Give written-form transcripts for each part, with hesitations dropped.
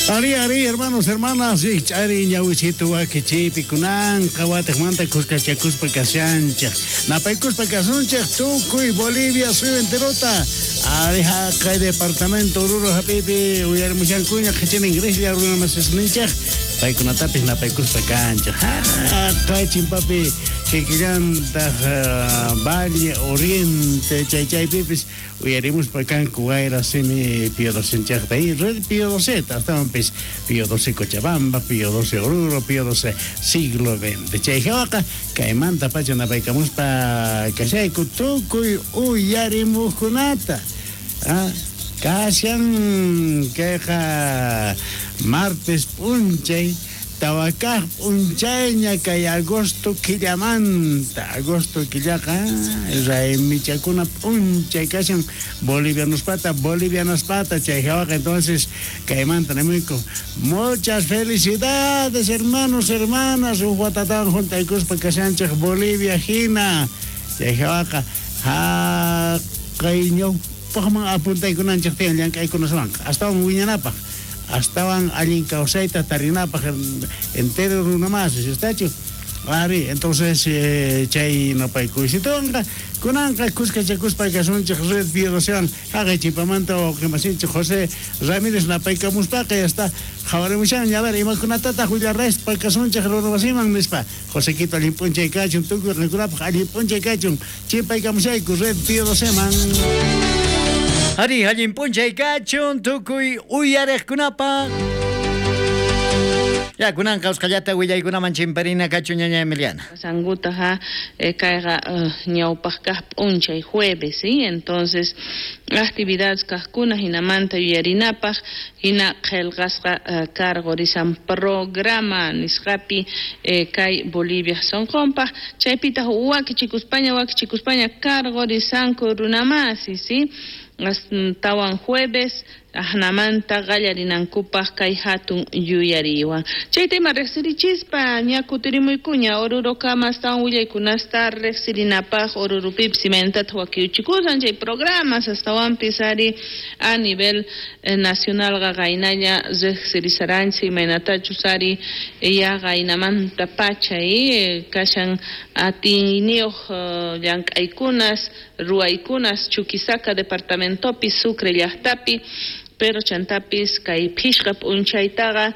Ari, ari, hermanos, hermanas, rikch'ari ñawichito wakichiypi kunanqa watejmanta khuskachakuspa kashanchej. Napaykuspa kasunchej tukuy Bolivia suyu enterota. Ari haqay departamento Oruro hap'iypi uyarimushankuña qhichina ingreslla runa masisninchej. Paykunatapis napaykuspa kanchej. Haqay chimpapi kikillantaj Valle Oriente chay chaypipis Uyarimuspa kanku wayra simi Pío Docenchejta y Red Pío Doceta, astawanpis Pío Doce Cochabamba, Pío Doce Oruro, Pío Doce siglo XX. Chay jawaqa kaymantapacha napaykamuspa kashayku tukuy uyarimujkunata. Kashan kayqa martes p'unchay. Tawa kaj p'unchayña kay agosto killamanta. Agosto killaqa raymichakuna p'unchay kashan bolivianospata, bolivianaspata, chay jawaqa entonces kaymanta nimuyku muchas felicidades hermanos, hermanas, uj watatawan junt'aykuspa kashanchej Bolivia jina, chay jawaqa jaqay ñawpajman apuntaykunanchej tiyan llank'aykunaswanqa astawan wiñanapaj. Astawan allin kawsayta tarinapaj entero runa masis, estachu? Ari, entonces chay napaykuysituwanqa kunanqa khuskachakuspa kasunchej Red Pío Docewan jaqay chipamanta wawqemasinchej José Ramírez napaykamuspaqa ya está qhawarimushanña, a ver imakunatataj willaraspa kasunchej runa wasiman nispa. Josequito allin p'unchay kachun, tukuy qankunapaj allin p'unchay kachun, chimpaykamushayku Red Pío Doceman. Ari, allin p'unchay kachun tukuy uyarejkunapaj. Ya, kunanqa usqhallata willaykunaman chimparina kachun ñaña Emiliana. Sanguta ja kayqa ñawpaq kaq p'unchay jueves, ¿sí? Entonces, actividades kaqkuna hinamanta yuyarinapaq hina qillqasqa karqurisan programa nisqapi kay Bolivia sonqonpaq chaypitaq wakichikuspaña wakichikuspaña karqurisanku runamasi, ¿sí? Tawan jueves ajnamanta qallarinankupaq kay hatun yuyariywan. Chayta ima riqsirichispa ña kutirimuykuña Orurokama astawan willaykunasta riqsirinapaq Orurupipis imaynatataq wakiuchikusan chay programas astawanpis ari a nivel nacionalqa qaynalla riqsirisaranchik imaynatachus ari ya qaynamanta pacha kashan atiyniyuq llank'aykunas ruwaykunas Chuquisaca departamentopi Sucre llaqtapi pero chantapis kay phishqa p'unchaytaqa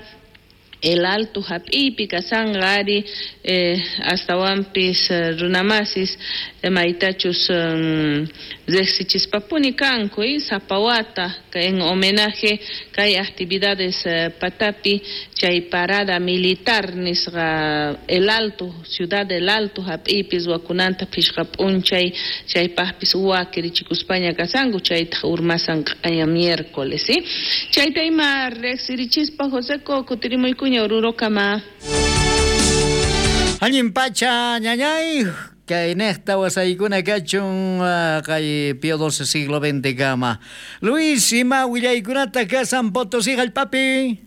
El Alto hap'iypi kasanqa ari astawanpis runamasis maytachus riqsichispapuni kanku sapa wata en homenaje kay actividades patapi chay parada militar nisqa El Alto, ciudad del Alto hap'iypi ruwakunanta phishqa p'unchay chaypaqpis wakirichikuspaña kasanku chaytaq urmasan q'aya miércoles, ¿sí? Chayta ima riqsirichispa Joseco kutirimuykuña Orurokama. Allin pacha ñañay kay nejta wasaykuna kachun kay Pío XII siglo XX kama. Luis, ima willaykunata kasan Potosí jallp'api.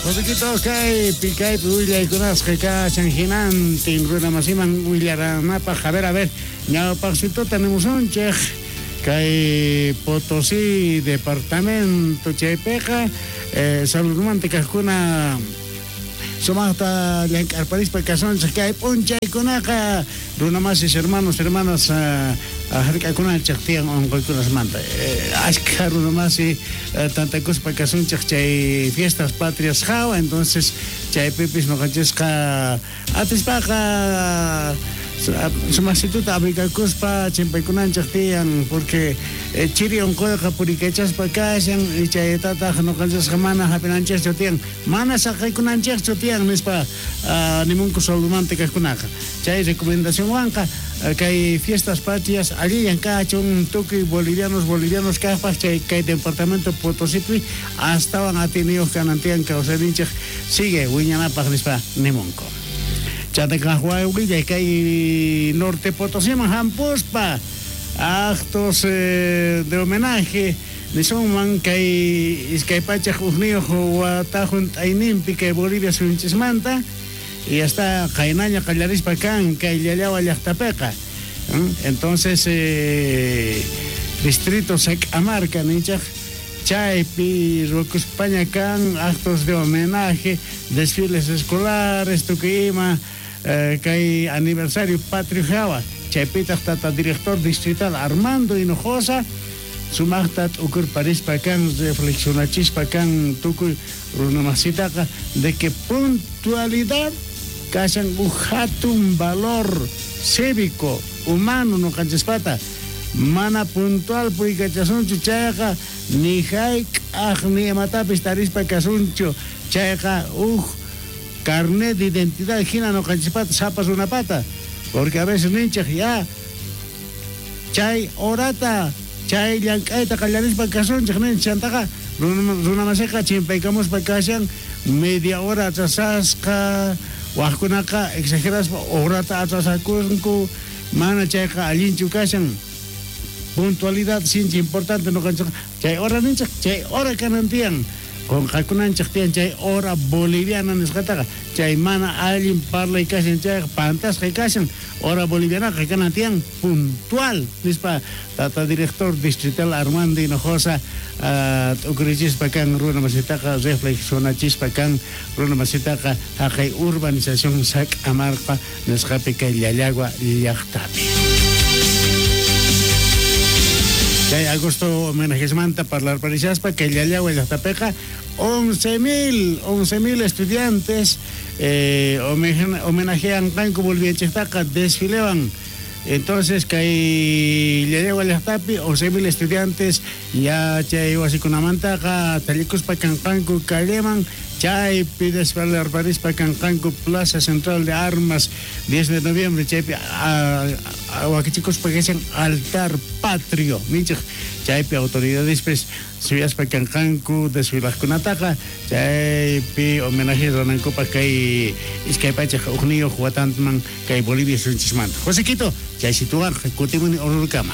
Josequito kaypi kaypi willaykunasqa kashan hinantin runa masiman willaranapaj. A ver, a ver, ñawpaqsituta nimusunchej kay Potosí departamento chaypiqa saludmanta kajkuna sumaqta llank'arparispa kasunchej kay p'unchaykunaqa runa masis hermanos, hermanas hark'akunanchej tiyan unquykunasmanta. Ashkha runa masi tantakuspa kasunchej chay fiestas patrias jawa, entonces chaypipis noqanchisqa atispaqa sumaqsituta abrigakuspa chimpaykunanchej tiyan porque chiri unquyqa purikachaspa kashan y chaytataq noqanchisqa mana hap'inanchejchu tiyan, mana saqaykunanchejchu tiyan nispa nimunku saludmanta kajkunaqa. Chay recomendacionwanqa kay fiestas patrias allillan kachun tukuy bolivianos, bolivianos kajpaj chay kay departamento Potosípi astawan atiniyuq kanan tiyan kawsayninchej sigue wiñanapaj nispa nimunku. Chantaka wawillay kay Norte Potosíman hampuspa actos de homenaje nisunman kay iskay pachaj ujniyuq watajun t'ayninpi kay Bolivia suyunchismanta y hasta qaynaña qallarispa kan kay Llallawa llaqtapiqa. Entonces distrito Sac'amarca ninchaj Chaypi ruwakuspaña kan actos de homenaje, desfiles escolares, tukuy ima kay aniversario patrio jawa. Chaypitaj tata director distrital Armando Hinojosa sumajta t'ukurparispa kan, reflexionachispa kan tukuy runamasitaqa de que puntualidad kashan uj jatun valor cívico, humano noqanchispata. Mana puntual purikachasunchu chayqa ni jayk'aj ni imatapis tarispa kasunchu chayqa uj carnet de identidad hina noqanchispata sapa runapata, porque a veces ninchej ya chay horata chay llank'ayta qallarispa kasunchej ninchej, chantaqa runamasiqa chimpaykamuspa kashan media hora atrasasqa, wajkunaqa exageraspa horata atrasakunku, mana chayqa allinchu kashan. Puntualidad sinchi importante noqanchej chay hora ninchej chay hora kanan tiyan, qonqakunanchej tiyan chay hora boliviana nisqataqa, chay mana allin parlay kashan chayqa pantasqa kashan, hora bolivianaqa kanan tiyan puntual nispa tata director distrital Armando Hinojosa t'ukurichispa kan runamasitaqa reflexionachispa kan runamasitaqa jaqay urbanización Sac'amarqa nisqapi kay Llallagua llaqtapi. Chay agosto homenajesmanta parlarparishaspa kay Llallagua llaqtapiqa 11,000 estudiantes homenajean kanku Bolivianchejtaqa desfilewan. Entonces kay Llallagua llaqtapi 11,000 estudiantes ya chay wasikunamantaqa tallikuspa kanqanku calleman, chaypi desfilarparispa kanqanku Plaza Central de Armas 10 de noviembre, chaypi wakichikuspa kashan altar patrio ninchej, chaypi autoridadespis suyaspa kanqanku desfilajkunataqa chaypi homenaje ruwanankupaq kay iskay pachaj ujniyuq watanman kay Bolivia suyunchismanta. Josequito, chay situwanqa kutimuni Orurukama.